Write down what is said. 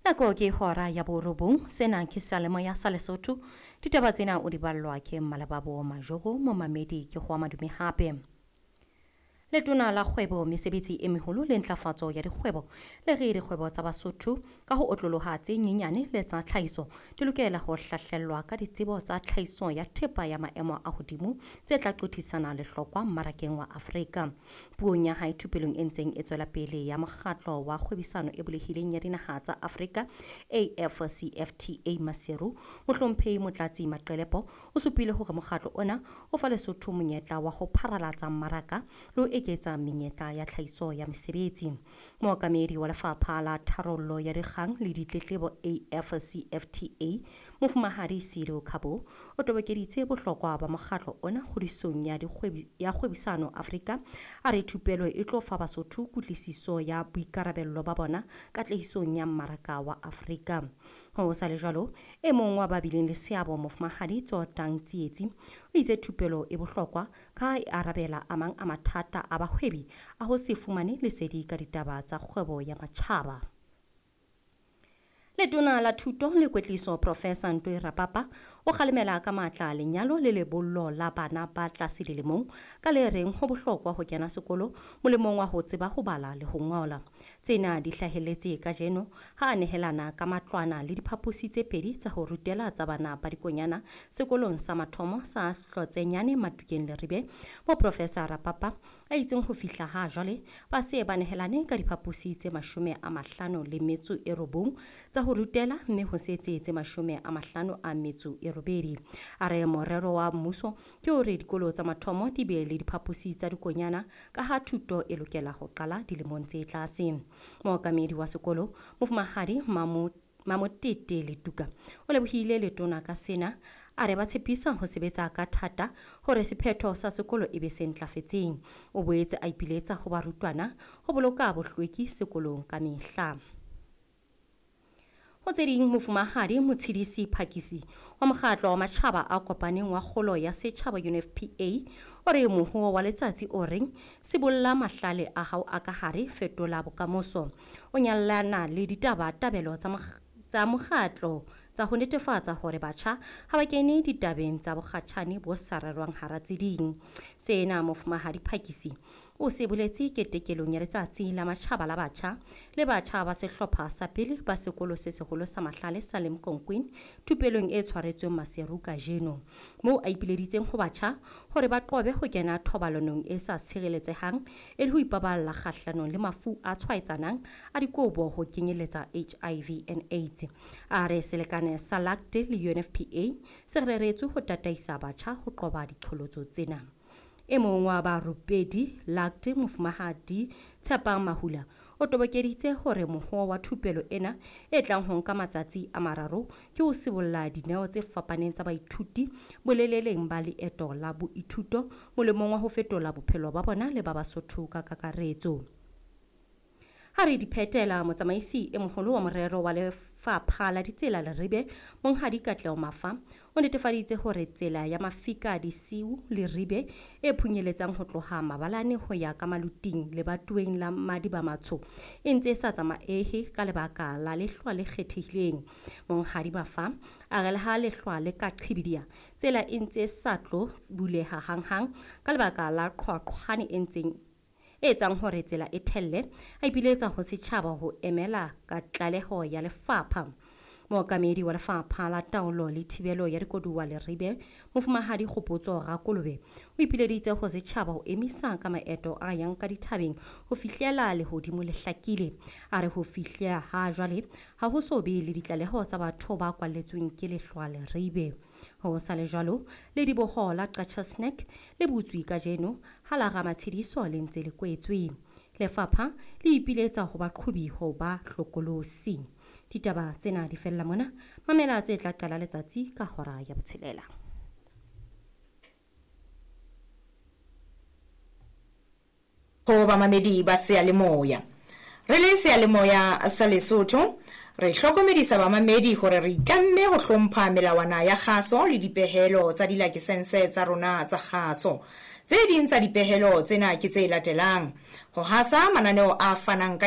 Nako ke hora ya borobong, sena ke seyalemoya sa Lesotho. Ditaba tsena o di ballwa ke Mmalebabo Majoro, momamedi ke ho madume hape. Letona la kgwebo, mesebetsi e meholo le ntlafatso ya dikgwebo le re dikgwebo tsa Basotho ka ho otloloha tse nyenyane le tsa tlhahiso di lokela ho hlahlellwa ka ditsebo tsa tlhahiso ya thepa ya maemo a hodimo tse tla qothisana lehlokwa mmarakeng wa Afrika. Puong ya hae thupelong e ntseng e tswela pele ya mokgatlo wa kgwebisano e bulehileng ya dinaha tsa Afrika AfCFTA Maseru, mohlomphehi Motlatsi Maqelepo o supile hore mokgatlo ona o fa Lesotho monyetla wa ho pharalatsa mmaraka le ho eketsa menyetla ya tlhahiso ya mesebetsi. Mookamedi wa lefapha la tharollo ya dikgang le ditletlebo AfCFTA, Mofumahadi Silo Khabo, o tobokeditse bohlokwa ba mokgatlo ona kgodisong ya kgwebisano Afrika. A re thupelo e tlo fa Basotho kutlwisiso ya boikarabello ba bona katlehisong ya mmaraka wa Afrika. Ho sa le jwalo, e mong wa ba bileng le seabo Mofumahadi Tsotang Tsietsi o itse thupelo e bohlokwa ka e arabela a mang a mathata a bahwebi a ho se fumane lesedi ka ditaba tsa kgwebo ya matjhaba. Letona la Thuto le Kwetliso Professor Ntwe Rapapa o kgalemela ka matla lenyalo le lebollo la bana ba tlase dilemong ka le reng ho bohlokwa ho kena sekolo molemong wa ho tseba ho bala le ho ngola. Tsena di hlahelletse kajeno ha a nehelana ka matlwana le diphaposi tse pedi tsa ho rutela tsa bana ba dikonyana sekolong sa mathomo sa Hlotsenyane Matukeng Leribe, mo Professor Rapapa a itseng ho fihla ha jwale ba se ba nehelane ka diphaposi tse 59 tsa ho rutela mme ho setse tse 58. A re morero wa mmuso ke hore dikolo tsa mathomo di be le diphaposi tsa dikonyana ka ha thuto e lokela ho qala dilemong tse tlase. Mookamedi wa sekolo Mofumahadi Mamotete Letuka o lebohile letona ka sena, a re ba tshepisa ho sebetsa ka thata hore sephetho sa sekolo e be se ntlafetseng. O boetse a ipiletsa ho barutwana ho boloka bohlweki sekolong ka mehla. Ho tse ding, Mofumahadi Motshidisi Phakisi wa mokgatlo wa matjhaba a kopaneng wa kgolo ya setjhaba UNFPA o re mohoo wa letsatsi o reng sibolla mahlale a hao a ka hare, fetola bokamoso, o nyallana le ditabatabelo tsa mokgatlo tsa ho netefatsa hore batjha ha ba kene ditabeng tsa bokgatjhane bo sa rerwang hara tse ding. Sena Mofumahadi Phakisi o se boletse ketekelong ya letsatsi la matjhaba la batjha le batjha ba sehlopha sa pele ba sekolo se seholo sa mahlale sa Limkokwing thupelong e tshwaretsweng Maseru kajeno, moo a ipileditseng ho batjha hore ba qobe ho kena thobalanong e sa tshireletsehang e le ho ipaballa kgahlanong le mafu a tshwaetsanang a dikobo ho kenyeletsa HIV and AIDS. A re selekane sa LACT le UNFPA se reretswe ho tataisa batjha ho qoba diqholotso tsena. E mong wa barupedi LACT Mofumahadi Tshepang Mahula o tobokeditse hore mohoo wa thupelo ena e tlang ho nka matsatsi a mararo ke ho sibolla dineo tse fapaneng tsa baithuti boleleleng ba leeto la boithuto molemong wa ho fetola bophelo ba bona le ba Basotho ka kakaretso. Ha re di phetela, motsamaisi e moholo wa morero wa lefapha la ditsela Leribe, Monghadi Katleho Mafa, o netefaditse hore tsela ya Mafika Disiu Leribe e phunyeletsang ho tloha Mabalane ho ya ka Maluting lebatoweng la Madiba Matsho e ntse e sa tsamaehe ka lebaka la lehlwa le kgethehileng. Monghadi Mafa a re le ha lehlwa le ka qhibidiha, tsela e ntse e sa tlo buleha hanghang ka lebaka la qhwaqhwane e ntseng e etsang hore tsela e thelle, a ipiletsa ho setjhaba ho emela ka tlaleho ya lefapha. Mookamedi wa lefapha la taolo le thibelo ya dikoduwa Leribe, Mofumahadi Kgopotso Rakolobe, o ipileditse ho setjhaba ho emisa ka maeto a yang ka dithabeng ho fihlela lehodimo le hlakile. A re ho fihlela ha jwale ha ho so be le ditlaleho tsa batho ba kwalletsweng ke lehlwa Leribe. Ho sa le jwalo, lediboho la Qacha's Nek le butswe kajeno ha la Ramatshediso le ntse le kwetswe. Lefapha le ipiletsa ho baqhobi ho ba hlokolosi. Ditaba tsena di fella mona. Mamela tse tla qala letsatsi ka hora ya 6. Ho bamamedi ba seyalemoya. Re le seyalemoya sa Lesotho, re hlokomedisa bamamedi hore re itlamme ho hlompha melawana ya kgaso le dipehelo tsa dilakesense tsa rona tsa kgaso. Tse ding tsa dipehelo tsena ke tse latelang: ho hasa mananeo a fanang ka